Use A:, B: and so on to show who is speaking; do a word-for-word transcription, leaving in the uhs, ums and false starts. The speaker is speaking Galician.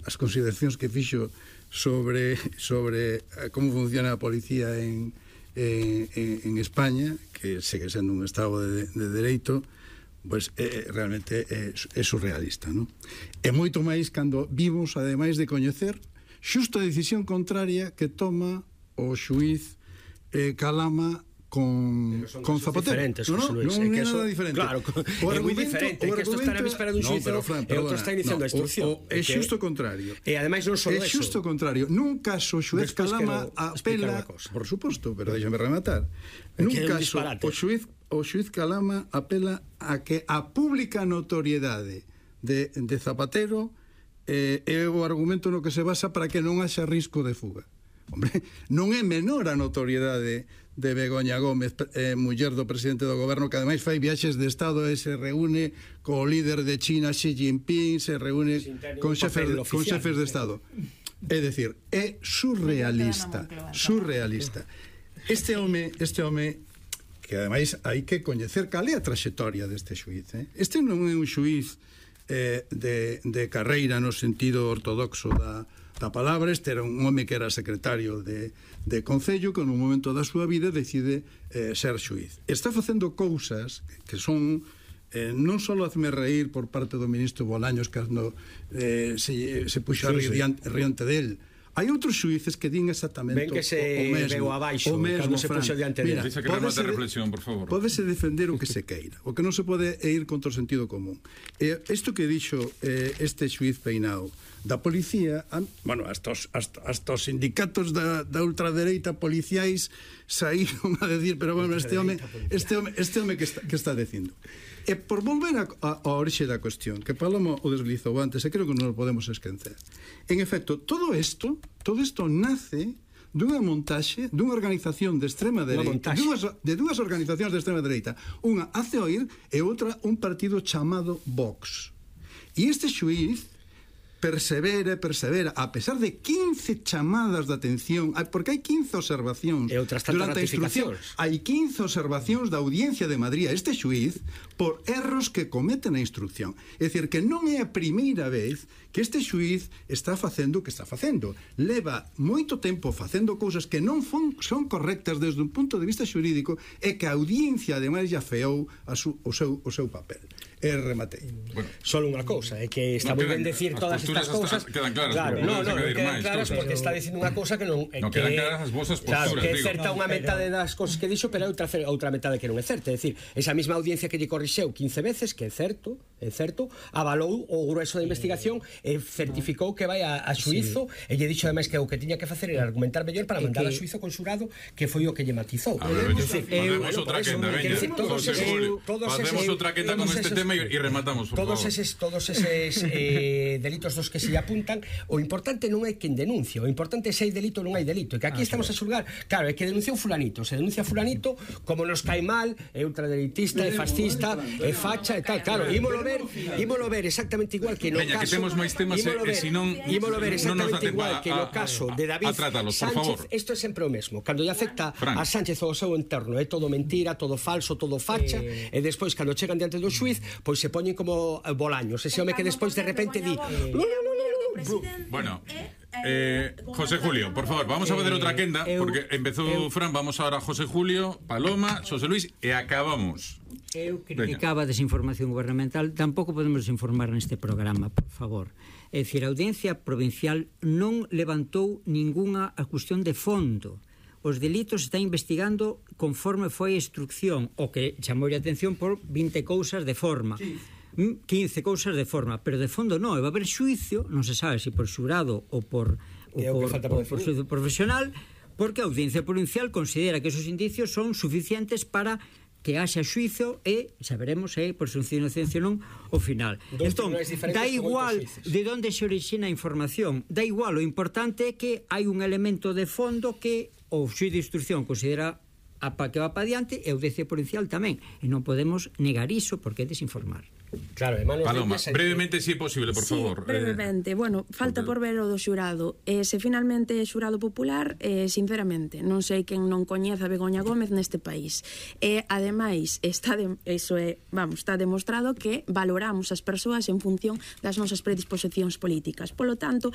A: as consideracións que fixo sobre sobre como funciona a policía en, en, en España, que segue sendo un estado de, de dereito, pois é, realmente é, é surrealista, non? E moito máis cando vimos, ademais de coñecer, xusto a decisión contraria que toma o xuiz eh, Calama con, con Zapatero.
B: No,
A: no, non é nada diferente.
B: Claro, é moi diferente, que isto está na víspera dun xuizo e outro está iniciando a instrucción.
A: É xusto o contrario.
B: E ademais non só
A: é
B: eso.
A: É xusto o contrario. Nun caso, o xuez Calama apela, por suposto, pero déxame rematar. Nun caso, o xuez o xuez Calama apela a que a pública notoriedade de, de Zapatero eh, é o argumento no que se basa para que non haxa risco de fuga. Hombre, non é menor a notoriedade de Begoña Gómez, eh, muller do presidente do goberno, que ademais fai viaxes de Estado e se reúne co líder de China, Xi Jinping, se reúne con xefes, con xefes de Estado. É dicir, é surrealista, surrealista. Este home, este home que ademais hai que coñecer cal é a traxectoria deste xuiz, eh? Este non é un xuiz eh, de, de carreira no sentido ortodoxo da da palabra. Este era un home que era secretario de, de Concello, que no momento da súa vida decide eh, ser xuiz. Está facendo cousas que son eh, non só hazme reír por parte do ministro Bolaños cando eh, se, se puxo sí, a rir sí. riante del. Hai outros xuíces que din exactamente
B: ben que se
A: o, o mesmo,
B: veo abaixo
A: o mesmo,
B: cando se puxo diante dele.
C: Dice que remate a reflexión, por favor.
A: Pódese defender o que se queira. O que non se pode é ir contra o sentido común. E isto que dixo eh, este xuiz Peinao da policía, bueno, hasta os, hasta, hasta os sindicatos da, da ultradereita policiais saíron a decir, pero bueno, este home este home, este home que está, que está dicindo. E por volver a, a, a orixe da cuestión, que Paloma o deslizou antes, e creo que non o podemos esquecer. En efecto, todo isto, todo isto nace dunha montaxe dunha organización de extrema dereita, dúas, de dúas organizacións de extrema dereita. Unha hace oír e outra un partido chamado Vox. E este xuiz persevera, persevera, a pesar de quince chamadas de atención, porque hai quince observacións durante a instrucción, hai quince observacións da Audiencia de Madrid a este xuiz por erros que cometen a instrucción. É dicir, que non é a primeira vez que este xuiz está facendo o que está facendo. Leva moito tempo facendo cousas que non son, son correctas desde un punto de vista xurídico e que a Audiencia ademais ya feou a su, o, seu, o seu papel. E rematei.
B: Bueno, solo unha cousa, é que está moi ben decir todas estas cousas.
C: Quedan claras,
B: claro, no, no, quedan claras porque está dicindo unha cousa que non é
C: no,
B: que
C: quedan claras as vosas posturas,
B: claro, que é
C: digo.
B: certa unha metade das cousas que dixo, pero outra outra metade que non é certa, é dicir, esa mesma audiencia que lle corrixeu quince veces, que é certo, é certo, avalou o grueso da investigación e certificou que vai a, a xuizo, sí. E lle dixo ademais que o que tiña que facer era argumentar mellor para mandar a xuizo con xurado, que foi o que lle matizou.
C: Facemos outra quenda, veña. Facemos outra quenda con este tema e rematamos.
B: Todos eses, todos eses eh, delitos dos que se apuntan, o importante non é quen denuncia, o importante é se hai delito ou non hai delito, e que aquí ah, estamos claro. a xulgar, claro, é que denunciou fulanito, se denuncia fulanito, como nos cae mal, é ultradereitista, é fascista, é facha e tal, claro, ímolo ver, ímolo ver exactamente igual que no
C: Veña,
B: caso,
C: que temos máis temas e se non
B: ímolo ver exactamente igual que no caso de David Sánchez, isto é sempre o mesmo, cando lle afecta a Sánchez ou ao seu entorno, é todo mentira, todo falso, todo facha, e despois cando chegan diante do xuiz, pois se poñen como Bolaños, ese home que despois de repente di
C: bueno, eh, José Julio, por favor, vamos a fazer outra quenda porque empezou Fran, vamos ahora a José Julio, Paloma, José Luis e acabamos.
D: Eu criticaba a desinformación gubernamental, tampouco podemos desinformar neste programa, por favor. É dicir, a Audiencia Provincial non levantou ningunha cuestión de fondo. Os delitos está investigando conforme foi a instrucción, o que chamou a atención por vinte cousas de forma. Sí. quince cousas de forma, pero de fondo non, vai haber xuicio, non se sabe se por xurado ou por, ou por, por, por xuicio profesional, porque a Audiencia Provincial considera que esos indicios son suficientes para que haxa xuizo e saberemos se é por presunción de inocencia non o final. Entón, dá igual de onde se orixina a información, dá igual, o importante é que hai un elemento de fondo que o xuiz de instrucción considera a pa que va para diante e a Audiencia Provincial tamén, e non podemos negar iso porque é desinformar.
B: Claro, hermano,
C: Paloma, brevemente, si é posible, por
E: sí,
C: favor.
E: brevemente, eh, bueno, falta por ver o do xurado. Eh, se finalmente é xurado popular, eh, sinceramente, non sei quen non coñeza a Begoña Gómez neste país. E, eh, ademais, está de, eso é, vamos, está demostrado que valoramos as persoas en función das nosas predisposicións políticas. Polo tanto,